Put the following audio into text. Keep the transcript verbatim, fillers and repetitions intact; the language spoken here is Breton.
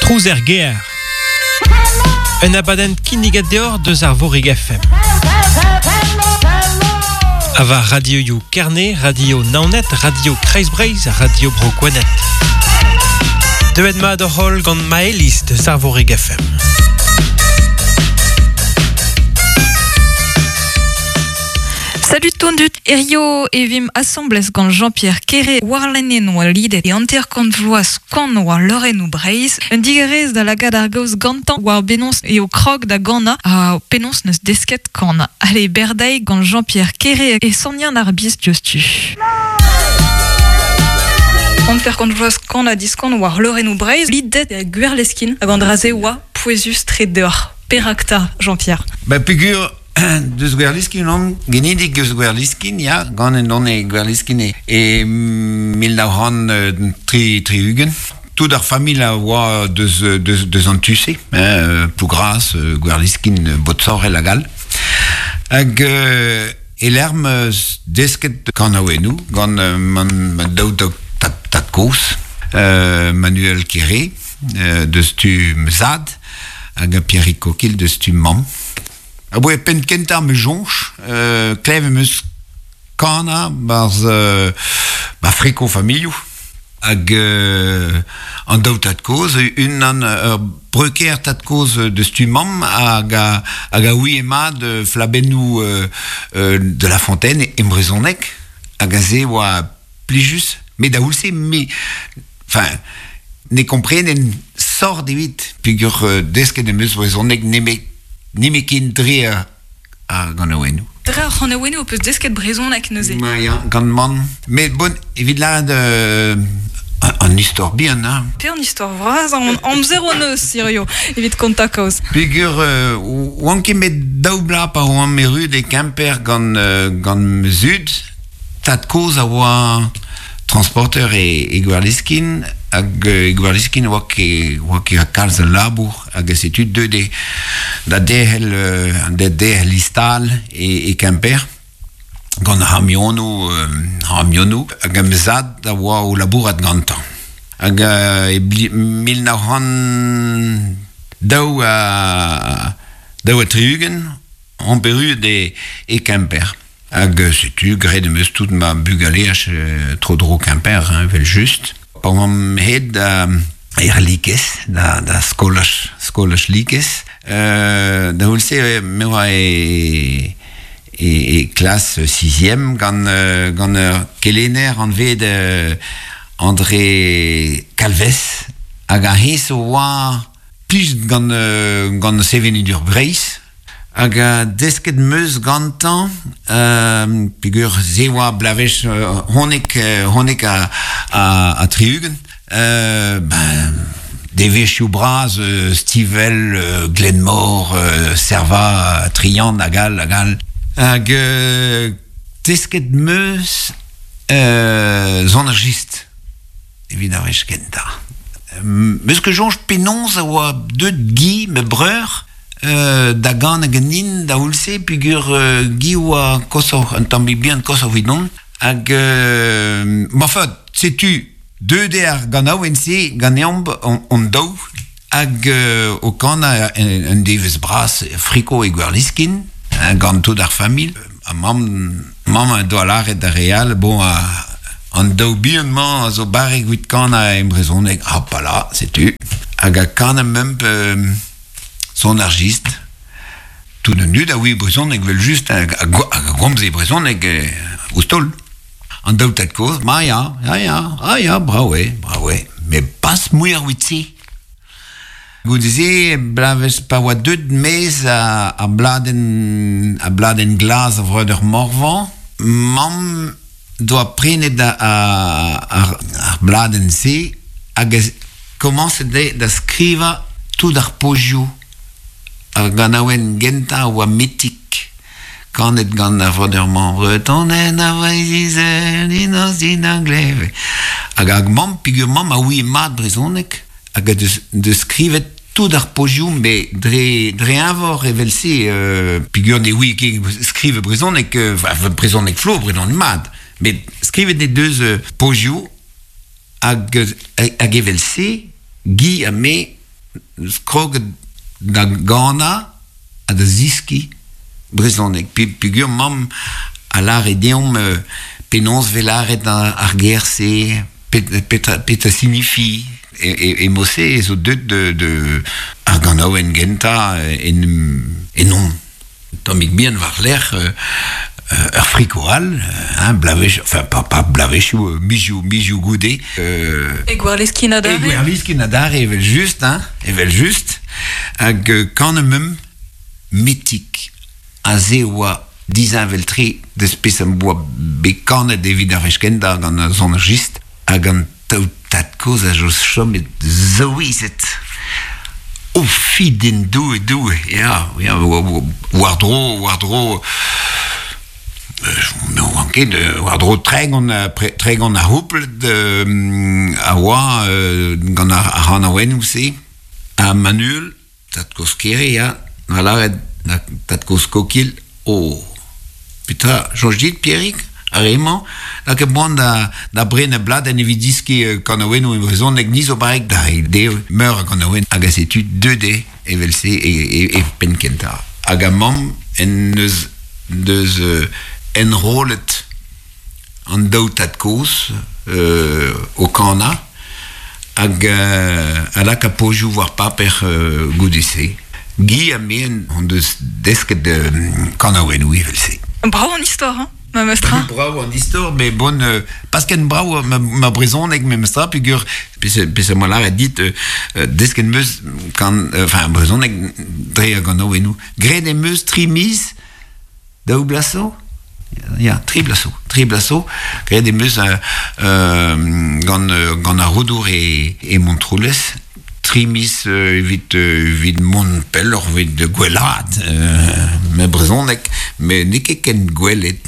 Trouz er gêr. Un abadenn kinniget deoc'h deus Arvorig F M. A war radioioù Kerne, Radio Naoned, Radio Kreiz-Breizh, Radio Bro Gwened. Deuet mat hoc'h holl gant Maëlys deus Arvorig F M. Salut tondut, Erio evim assemblez gant Jean-Pierre Kéré warlenen oa lidet e hanter-kant vloaz kan oa leurennoù Breizh, un digarez da lakaat ar gaoz gantañ war benons eo krog da ganañ ha penaos neus desket kana. Allez, berdaig gant Jean-Pierre Kéré e sonian ar biz diouzhtu. Hanter-kant vloaz kan ha diskan war leurennoù Breizh, lidet e Gwerleskin hag an dra-se oa pouezus tre deoc'h. Perak 'ta, Jean-Pierre? Ba peogwir deus Gwerliskin on, genidik eus Gwerliskin, ya, gant en on e Gwerliskin e, e mil nav c'hant tri tri-ugent. Tout ar familh a oa deus, deus, deus an tu-se, hein, Plougras, Gwerliskin, Botsorel hag all. Hag euh, e lerm desket kanaouennoù gant man, man daou tad, tad kozh, euh, Manuel Kéré, euh, deus tu zad, hag Pierrick Coquille deus tu mamm. A boe pen kentañ me jonch, euh, klev em eus kana barz euh, ba friko familhoù. Hag euh, an daou tad kozh, unan ur breuker tad kozh deus tu mamm hag a, hag a ouie mat flabennoù euh, euh, de la Fontaine e brezhoneg hag a se oa plijus, met da oulse me, enfin, ne komprenen sort evit peogwir euh, desket em eus brezhoneg nemet Nemet ken dre ar, ar ganaouennoù. Dre ar c'hanaouennoù ho peus desket brezhoneg neuze. Ma ya, gant mann. Met bon, evit lâret euh, an istor bihan, hein. Pe an istor vras, an amzer hon eus, hirio, evit kontañ kaoz. Peogwir, euh, oan ket met daou bloaz pa oan erru e Kemper gant, euh, gant ma zud, tad kozh a oa transporteur e, e Gwerliskin, hag e Gwerliskin oa ket, oa ket kalz a labour, hag setu deuet e, da derc'hel, da derc'hel istal e, e Kemper, gant ar c'hamionoù, ar c'hamionoù, hag am zad a oa o labourat gantañ. Hag e mil nav c'hant daou ha daou ha tri-ugent, on erruet e, e Kemper. Hag setu, graet em eus tout ma bugaleaj tro-dro Kemper, hein, vel just. Pa oamp het da er likez, da, da skolaj, skolaj likez. Euh, da oulse, me oa e, e, e klas sixième gant, gant ur kelenner anvet euh, André Calvez, hag a hez oa plij gant, gant sevenadur Breizh. Hag a desket meus gantañ, euh, peogwir se oa blavech euh, honek, honek a, a, a tri-ugent, euh, ben, devezhioù bras, euh, Stivell, euh, Glenmor, euh, Serva, Trian, hag all, hag all. Hag euh, desket meus euh, zon ar jist, evit ar wech kentañ. Meus ket soñj penaos a oa deut Guy, ma breur, Euh, da gant hag nin da oulse peogwir euh, Guy oa koshoc'h, un tamm bihan koshoc'h evidon. Hag, euh, ma enfin, setu deuet eo ar ganaouenn-se ganeomp on, on daou hag euh, o kanañ un, un devezh bras friko e Gwerliskin, hein, gant tout ar familh. Ha mamm, mamm a doa lâret da re all, bon, a, an daou bihan-mañ a zo barrek evit kanañ e brezhoneg. Ah, pa la, setu. Hag a kanañ memp euh, son ar jist. Tout an dud a oui brezhoneg vel just hag a gomze brezhoneg ouzh taol. An daou tad kozh, ma ya, ya, ya, ah ya, brav eo, brav eo. Met pas muioc'h evit se. Goude-se, blavez pa oa deut maez a, a bladenn, a bladenn glas a vreudeur Morvan, mamm doa prenet a, a, ar, ar bladenn-se hag a komañset da skrivañ tout ar pozioù. Ar ganaouenn gentañ a oa metik, kanet gant ar vreudeur-mañ, Bretonen a Vreizh-Izel, inoz din a gleve. Hag hag mamm, peogwir mamm a ouie mat brezhoneg, hag a deus, deus skrivet tout ar pozioù, met dre, dre eñvor evel-se, euh, peogwir ne ouie ket skrive brezhoneg, euh, brezhoneg flo, brezhoneg mat, met skrivet e deus euh, pozioù, hag, hag evel-se, Guy ha me Kroget da gana ha da ziski brezhoneg. Pe, peogwir mamm a lâre deomp euh, penaos vez lâret ar ger-se, petra, petra signifi. E, e, e mod-se e zo deut de, de ar ganaouenn gentañ en, en on. Tammig bihan war-lerc'h euh, ur friko all, hein, bloavezh, enfin pas, pas bloavezhioù, mizioù, mizioù goude. Euh, e Gwerleskin adarre. E Gwerleskin adarre, evel just, hein, evel just. Hag kan mem metik aze oa disheñvel-tre deus pezh am boa bet kanet evit ar wech kentañ gant ar sonerjist hag an daou tad-kozh a zo chomet souezhet. O fiden doue doue, ya, ya, war-dro, war-dro, ne oan ket, war-dro tregont, tregont a c'houpled a oa gant ar c'hanaouennoù-se. Ha Manuel, tad-kozh Kere, ya, a lâret tad-kozh Kokil, oh, petra, soñj dit, Pierig, ar re-mañ, lakaet poan da, da brenañ bladenn evit diskiñ kanaouennoù e brezhoneg ni zo barrek da reiñ dezho meur a ganaouenn hag a setu deuet eo evel-se e, e, e penn kentañ. Hag a mamm en deus, deus euh, enrollet an daou tad-kozh euh, o kanañ hag euh, a laka pozioù war paper euh, goude-se. Guy ha me hon deus desket euh, kanaouennoù evel-se. Brav an istor, hein, memestra. Brav an istor, mais bon, euh, pas ken brav ma, ma brezhoneg memestra, peogwir, pezh am boa lâret dit, euh, desket 'm eus kan, enfin, brezhoneg dre ar ganaouennoù. Graet em eus tri miz, daou bloaz zo? Ya, tri bloaz zo, tri bloaz zo. Graet em eus euh, euh, gant, gant ar Roudour e, e Montroulez, tri miz euh, evit, euh, evit mont pelloc'h evit gwellaat euh, ma brezhoneg, met n'eo ket ken gwelet.